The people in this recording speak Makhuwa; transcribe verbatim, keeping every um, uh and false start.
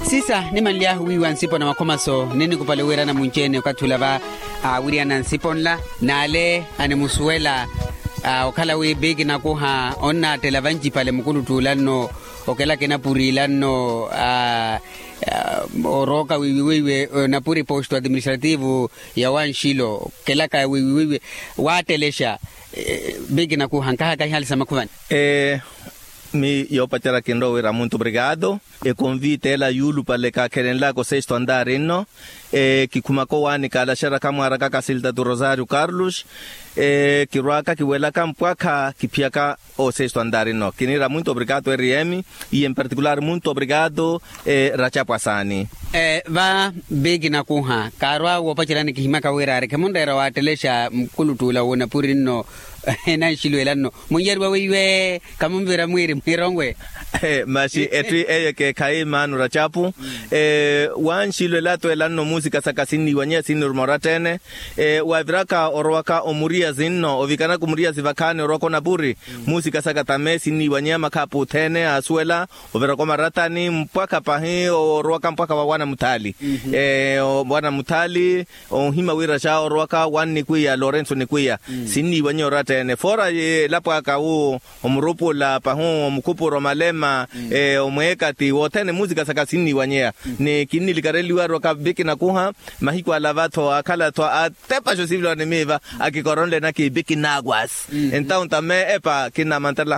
Sisa nimanly'ahu wiiwa nsipo na makhomaso ninnikupale wiirana munci-ene okathi ula va aawiriyana nsipo nla n'ale animusuwela. Okhala wi biki nakuha onnaattela vancipale mukuluttuula nno okelaka enapuri ila nno orooka wiiwi weiwe enapuri posto administrativo ya wanxilo okelaka wiiwi weiwe waattelexa. Biki nakuha nkahaka ihali sa makhuvani. Mi yoopacerya kinrowa wira muntu obrigado. Ekonvite ela yuulupale kaakhelenlaka osesto andari nno. Kikhumaka owaani kaalaxeryaka mwaaraka kasilta tu rosario carlos. Kirwaaka kiwelaka mpwakha kiphiyaka osesto andari nno kiniira muntu obrigado rm. Iye mparticular muntu obrigado. Racapu asaani. Va biki nakuha kaarwa woopaceryani kihimyaka wira ari khemunreera waattelexa mukuluttuula w'onapuri nno enanxiluwela nno munnyariwa weiwe. Khamunvira mwiiri mwiironwe. Maxi etthu eyo ekeekhayi maano racapu. Wanxilwela twela nno muusika saka sinniiwanyeya sinniiruma oratta-ene. Waaviraka orowaka omuriyazi nno ovikanaka omuriyazi vakhaani orowaka onapuri. Muusika saka tame sinniiwanyeya makhaapu othene aasuwela oviraka omarattani mpwakha pahi orowaka mpwakha wa wana muthaali. Wana muthaali. Onhima wira xa orowaka wannikwiya lorenso nikwiya. Sinniiwanyeya oratta-ene foora elapo aka wu omurupula pahu omukhupura omalema. Omweekati wothene muusika saka sinniiwanyeya. Ni kinnilikareliwa arowaka biki nakuha mahiku ala va-tho akhala-tho atepaxa osivila wa nimiiva akikoronle naki biki nakwasi. Entawu ntame epa kinnamantarela.